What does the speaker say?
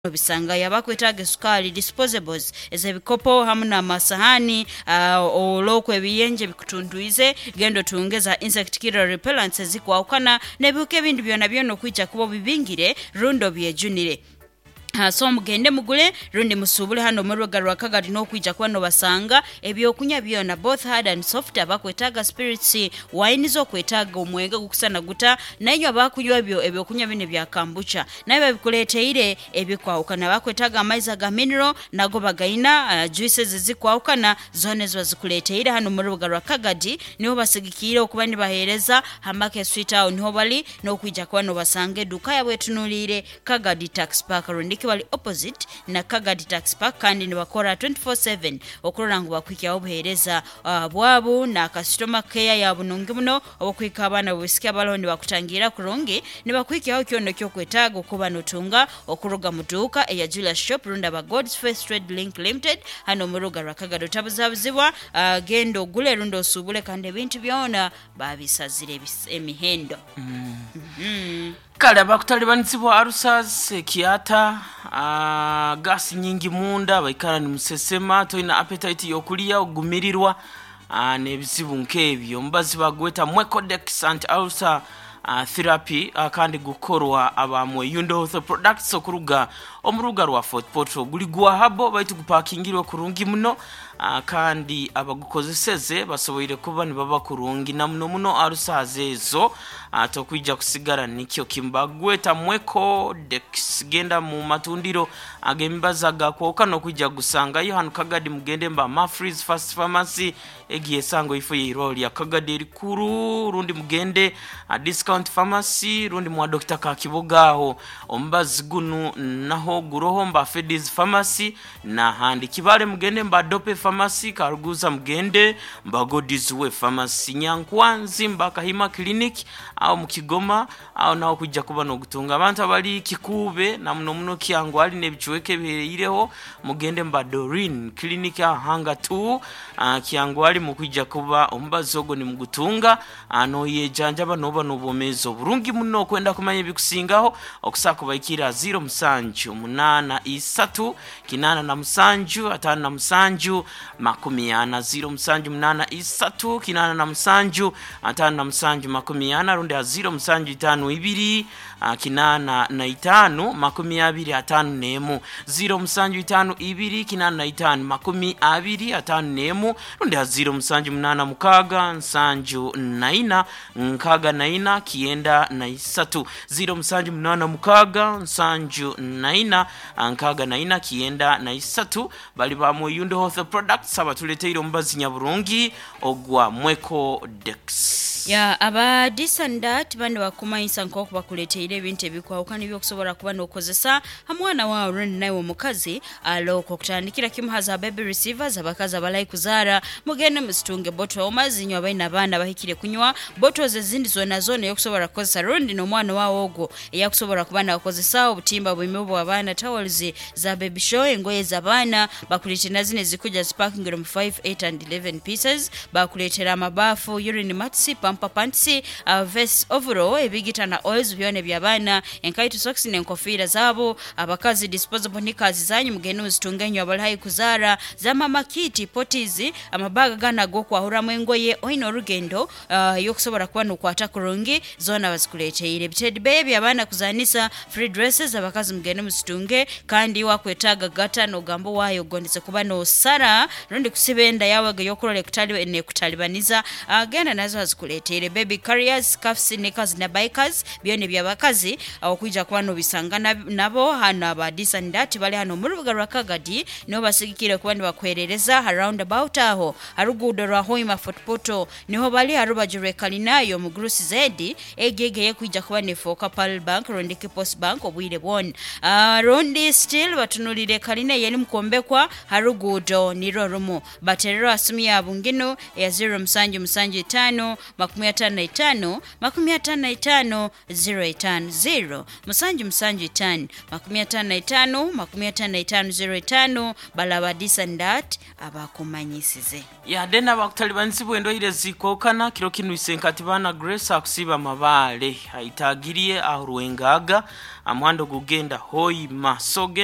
Obisangayo abakwetaaga esukaali, disposables, ez'ebikopo hamu n'amasahaani, olwokwo ebiyenje bikutuntwize, genda otunge za insect killer repellents ezikwahukana n'ebihuka ebindi byonabyona okwija kuba obibingire rundi obyejunire. So mugende mugule rundi musuubule hanu omu rubuga rwa Kagadi n'okwija kuba nobasanga ebyokunywa byona both hard and soft, abakwetaaga spirits, wines, okwetaaga omwenge ogukusana guta, nainywe abakunywa ebyo ebyokunywa binu ebya kambucha. Nayo babikuleeteire ebikwahukana. Abakwetaaga amaizi aga mineral nago bagaina, juices ezikwahukana zoona ezo bazikuleeteire hanu omu rubuga rwa Kagadi. Niho basigikiire okuba nibaheereza ha Market Street agho niho bali n'okwija kuba nobasanga eduuka yaabo etunuliire Kagadi Tax Park rundiki bali opposite na Kagadi Tax Park kandi nibakora 24/7 okurora ngu bakuhikyaho obuheereza bwabu na kasitoma keya ya bunungi muno. Obw'okuhika abaana b'obwisiki abaroho nibakutangiirira kurungi, nibakuhikyaho kyona eky'okwetaaga okuba notunga okuruga mu duuka eya Julius Shop rundi aba God's Faith Trade Link Limited hanu omu rubuga rwa Kagadi. Otabuzabuzibwa, genda ogule rundi osuubule kandi ebintu byona babisazire emihendo. Kale abakutalibanizibwa ulcers, ekiata, gas nyingi munda, baikara nimusesema, toina appetite y'okulya, ogumirirwa, n'ebizibu nk'ebyo. Omubazi bagweta Mwecodex Anti-Ulcer Therapy kandi gukorwa aba Mweyundo Health Products okuruga omu rubuga rwa Fort Portal. Guli gwa habo baitu gupakingirwe kurungi muno kandi abagukozeseze basoboire kuba nibaba kurungi na muno muno ulcers ezo tokwija kusigara nikyo kimu. Bagweta Mwecodex. Genda mu matundiro Ag'emibazi aga kwoka n'okwija kugusangayo hanu Kagadi mugende mba Mafree's First Pharmacy egiye esango eifo y'eirwaro lya Kagadi erikuru rundi mugende aha Discount Pharmacy rundi mwa Dokita Kakiboga aho omubazi gunu naho guroho mba Feddy's Pharmacy n'ahandi. Kibale mugende mba Dope Pharmacy, Karuguza mugende mba God's Way Pharmacy, Nyankwanzi mba Kahima Clinic aho mu Kigoma Agho naho kwija kuba n'ogutunga. Abantu abali Kikuube na muno muno Kyangwali n'ebicweka ebihereireho, mugende mu ba Doreen Clinic aha Hanga Two, Kyangwali mukwija kuba omubazi ogwo nimugutunga n'oyejanjaba n'oba n'obwomeezi oburungi muno. Okwenda kumanya ebikusingaho, okusobola kubaikirira aha ziiro musanju munaana isatu kinaana na musanju ataano na musanju makumi ana, ziiro musanju munaana isatu kinaana na musanju 57 40 rundi a 0 7 5 2 85 21 0 7 5 2 85 21 rundi a 0 7 8 6 7 4 64 93 0 7 8 6 7 4 64 93 Bali ba Mweyundo Health Products abatuleteire omubazi nyaburungi ogwa Mwecodex. Ya aba This and That bani bakumanyisa nk'oku bakuleteire ebintu ebikwahukana eby'okusobola kuba n'okozesa ha mwana waawe rundi naiwe omukazi alokwo okutandikira kimu ha za baby receivers abakazi abalai kuzaara mugende muzitunge bottle warmers inywe abaine abaana abahikire kunywa bottles ezindi zoonazona ey'okusobola kukozesa rundi n'omwana waawe ogwo eyakusobola kuba nakozesa obutimba bwime obw'abaana towels za baby show, engoye z'abaana, bakuleetera na zino ezikuja zipakingire omu five, eight and eleven pieces, bakuleetera amabaafu, urine mats, pamper pants, vests, overall, ebigita na oils byona eby'abaana, enkaito, socks n'enkofiira zaabo, abakazi disposable knickers zanyu mugende muzitunge inywe abali haihi kuzaara, za mama kit, potties, amabaga ganu ag'okwahuramu engoye, oine orugendo ey'okusobola kuba n'okwata kurungi, zoona bazikuleeteire. Ebitedi beeya eby'abaana kuzaanisa, free dresses, abakazi mugende muzitunge. Kandi iwe akwetaaga gata n'ogamba owaaye ogondeze kuba n'osara rundi kusiba enda yaawe ego ey'okurora ekutalibaniza, genda nazo bazikuleeteire. Baby carriers, scarfs, knickers na bikers byona eby'abakazi okwija kuba n'obisanga nabo hanu aba This and That bali hanu omu rubuga rwa Kagadi niho basigikiire kuba nibakuheerereza ha round about aho ha ruguudo rwa Hoima Fort Portal. Niho bali ha rubaju rw'ekalina y'omugurusi Zedi, egyo ego ey'ekwija kuba n'efooka Pearl Bank rundi ki Post Bank obwire bwona. Rundi still batunulire ekalina ey'erimu kwombekwa ha ruguudo nirwo rumu. Batererwe ha simu yaabu nginu eya ziro musanju musanju itaanu 55 55 05, ziro musanju musanju itaanu 55 55 05, balaba this and that. Abakumanyisize. Yade n'abakutalibanizibwa endwaire zikokana kiro kinu isenkati baana Grace akusiiba Mabaale aitagirie aho Rwengaga amuhanda ogugenda Hoima so genda.